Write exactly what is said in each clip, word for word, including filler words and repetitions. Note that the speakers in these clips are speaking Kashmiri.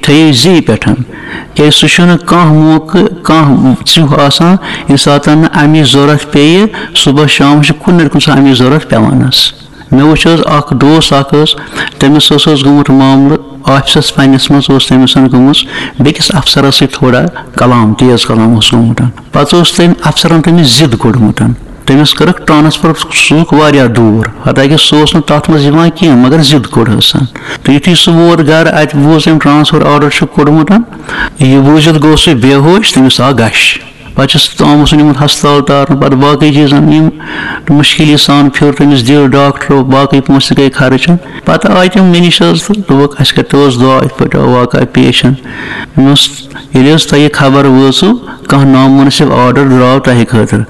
بیٚیہِ زی پٮ۪ٹھ۔ کیٛازِ سُہ چھُنہٕ کانٛہہ موقعہٕ، کانٛہہ ژیُہ آسان، ییٚمہِ ساتہٕ نہٕ اَمِچ ضوٚرَتھ پیٚیہِ، صُبحس شامَس چھُ کُنہِ نَتہٕ کُنہِ ساتہٕ اَمِچ ضوٚرَتھ پٮ۪وان حظ۔ مےٚ وٕچھ حظ، اَکھ دوس اَکھ حظ، تٔمِس حظ اوس گوٚمُت معاملہٕ، آفِسَس پنٛنِس منٛز اوس تٔمِس گٔمٕژ بیٚکِس اَفسَرَس سۭتۍ تھوڑا کلام، تیز کلام اوس گوٚمُت۔ پَتہٕ اوس تٔمۍ اَفسَرَن تٔمِس ضِد کوٚڑمُت۔ تٔمِس کٔرٕکھ ٹرانسفر، سوٗزُکھ واریاہ دوٗر، حتیٰ کہِ سُہ اوس نہٕ تَتھ منٛز یِوان کینٛہہ، مگر ضِد کوٚڑ حظ۔ تہٕ یُتھُے سُہ ووت گَرٕ، اَتہِ بوٗز أمۍ ٹرانسفر آرڈر چھُ کوٚڑمُت۔ یہِ بوٗزِتھ گوٚو سُہ بے ہوش، تٔمِس آو غش۔ پَتہٕ چھُ سُہ آمُت، سُہ نیوٗمُت ہسپتال تارنہٕ، پَتہٕ باقٕے چیٖزَن یِم مُشکِل یہِ سان پھیُر تٔمِس دِل ڈاکٹرو، باقٕے پونٛسہٕ تہِ گٔے خرٕچ۔ پَتہٕ آے تِم مےٚ نِش حظ تہٕ دوٚپُکھ، اَسہِ کَتہِ اوس دعا، یِتھ پٲٹھۍ آو واقعہ پیش۔ مےٚ اوس، ییٚلہِ حظ تۄہہِ یہِ خبر وٲژٕو، کانٛہہ نامنٲسِب آرڈر درٛاو تۄہہِ خٲطرٕ،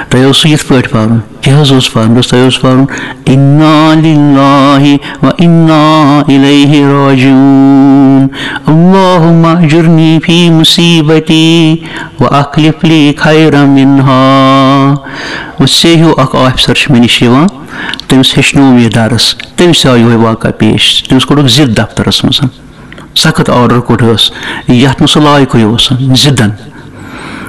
تۄہہِ اوسوٕ یِتھ پٲٹھۍ پَرُن۔ کیٛاہ حظ اوس پَرُن؟ دوٚپُس، تۄہہِ اوس پَرُن، "انا للہ و انا الیہ راجعون، اللہم اجرنی فی مصیبتی و اخلف لی خیرا منہا۔" وۄنۍ ژےٚ ہیوٗ اَکھ آفیسر چھُ مےٚ نِش یِوان، تٔمِس ہیٚچھنوو مےٚ یہِ درس، تٔمِس آو یِہوٚے واقعہ پیش، تٔمِس کوٚڑُکھ ضِد دفترس منٛز۔ سخت آرڈر کوٚڑ حظ، یَتھ نہٕ سُہ لایقٕے اوس، ضِدن۔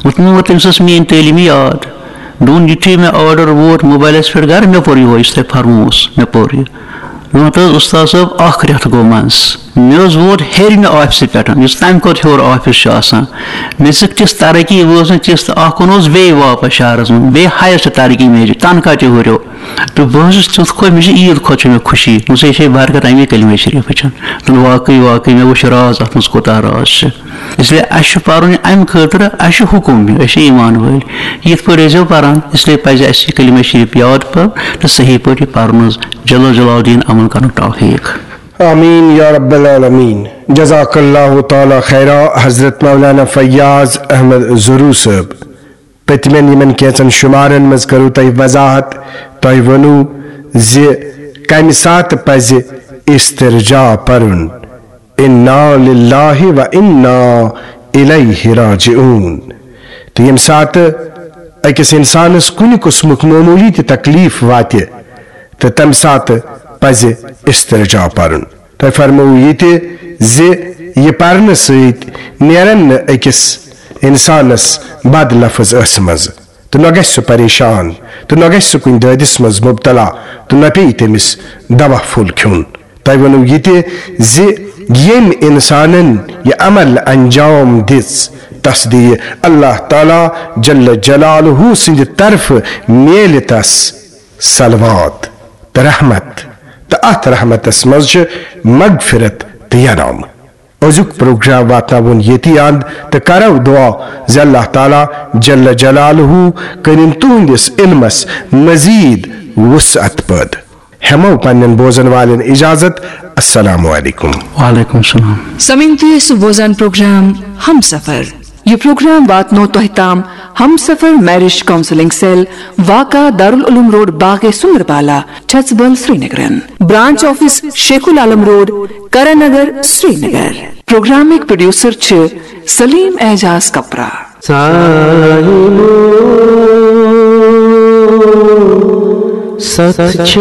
وۄنۍ مےٚ ووٚن تٔمِس، ٲس میٛٲنۍ تعلیٖم یاد۔ دوٚپُن، یُتھُے مےٚ آرڈر ووت موبایلَس پٮ۪ٹھ گَرٕ، مےٚ پوٚر یِہوٚے، یُس تۄہہِ فرمووُس، مےٚ پوٚر یہِ۔ دوٚپُن، ہَتہٕ حظ، اُستاد صٲب، اَکھ رٮ۪تھ گوٚو منٛز۔ مےٚ حظ ووت ہیٚرمہِ آفسہٕ پٮ۪ٹھ، یُس تَمہِ کھۄتہٕ ہیوٚر آفس چھُ آسان۔ مےٚ دِژٕکھ تِژھ ترقی، وٲژ نہٕ تِژھ تہٕ اَکھ اوٚن اوس بیٚیہِ واپس شہرَس منٛز، بیٚیہِ ہایسٹ ترقی مےٚ دِژ، تنخواہ تہِ ہُریو۔ تہٕ بہٕ حظ چھُس تیُتھ خۄش، مےٚ چھِ عیٖد کھۄتہٕ چھِ مےٚ خوشی۔ وۄنۍ چھے برکت اَمی کلمہ شریٖفٕچ۔ تہٕ واقعی، واقعی، مےٚ وٕچھ راز اَتھ منٛز کوٗتاہ راز چھِ۔ اس لیے اَسہِ چھُ پَرُن یہِ اَمہِ خٲطرٕ، اَسہِ چھُ حُکُم، أسۍ چھِ ایٖمان وٲلۍ۔ یِتھ پٲٹھۍ ٲسۍزیو پَران، اس لیے پَزِ اَسہِ یہِ کلمہ شریٖف یاد پَرُن تہٕ صحیح پٲٹھۍ یہِ پَرُن حظ۔ جل جلال الدین عمل کَرنُک توفیٖق۔ آمین یا رب العالمین۔ جزاک اللہ تعالیٰ خیرا حضرت مولانا فیاض احمد زرو صٲب۔ پٔتمٮ۪ن یِمن کینٛژن شمارن منٛز کٔرٕو تۄہہِ وضاحت، تۄہہِ ووٚنوٕ زِ کمہِ ساتہٕ پزِ استرجاع پرُن، انا للہ و انا الیہ راجعون۔ تہٕ ییٚمہِ ساتہٕ أکِس انسانس کُنہِ قٕسمُک معموٗلی تہِ تکلیف واتہِ، تہٕ تمہِ ساتہٕ پزِ استرجاع پرُن۔ تۄہہِ فرموو یہِ تہِ زِ یہِ پرنہٕ سۭتۍ نیرن نہٕ أکِس انسانس بد لفظ ٲسہٕ منٛز، تہٕ نہ گژھِ سُہ پریشان، تہٕ نہ گژھِ سُہ کُنہِ دٲدِس منٛز مبتلا، تہٕ نہ پیٚیہِ تٔمِس دوا پھوٚل کھیوٚن۔ تۄہہِ ووٚنوٕ یہِ تہِ زِ ییٚمۍ انسانن یہِ عمل انجام دِژ، تس دِیہِ اللہ تعالیٰ جل جلالہ سٕنٛدِ طرفہٕ میلہِ تس صلوات تہٕ رحمت، تہٕ اتھ رحمتس منٛز چھِ مغفرت تہٕ ینامہٕ۔ أزیُک پروگرام واتناوُن ییٚتی اند، تہٕ کرو دعا زِ اللہ تعالیٰ جل جلالہ کٔرِن تُہنٛدِس علمس مزید وسعت پٲدٕ۔ ہٮ۪مو پننٮ۪ن بوزن والٮ۪ن اجازت۔ السلام علیکم۔ وعلیکم السلام۔ سمعین تُہۍ ٲسِو بوزان پروگرام ہمسفر۔ یہِ پروگرام واتنو تۄہہِ تام ہمسفر میرج کاؤنسلنگ سیل، واقع دارالعلوم روڈ، باغ سندربالا، چھژبل، سرینگرن۔ برانچ آفس شیخ العالم روڈ، کرن نگر، سرینگر۔ پروگرامٕکۍ پروڈیوسر چھِ سلیم اعجاز کپرا۔ ساحلو ستھ چھِ